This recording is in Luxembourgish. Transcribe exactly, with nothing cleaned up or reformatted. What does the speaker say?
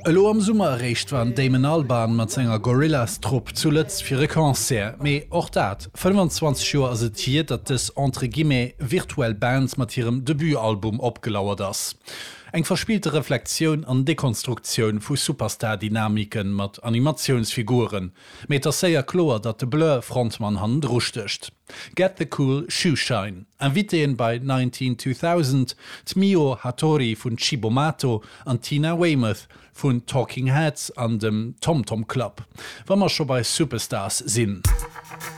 Elo am Summer eréischt war den Damon Albarn mat senger Gorillaz-Trupp zu Lëtz fir e Concert, mee och dat, fënnfanzwanzeg Joer ass et hier, datt dës entre guillemets virtuell Band mat hirem Debutalbum opgelauert ass. Eng verspillte Reflexioun an Dekonstruktioun vu Superstar-Dynamiken mat Animatiounsfiguren. Mee et ass séier kloer, datt de Blur-Frontmann hannendru stécht. Get the Cool Shoe Shine. Invitéen bei Nineteen Two Thousand, d'Miho Hatori vun Cibo Matto an d'Tina Weymouth vun Talking Heads an dem Tom Tom Club. Wa mer scho bei Superstars sinn.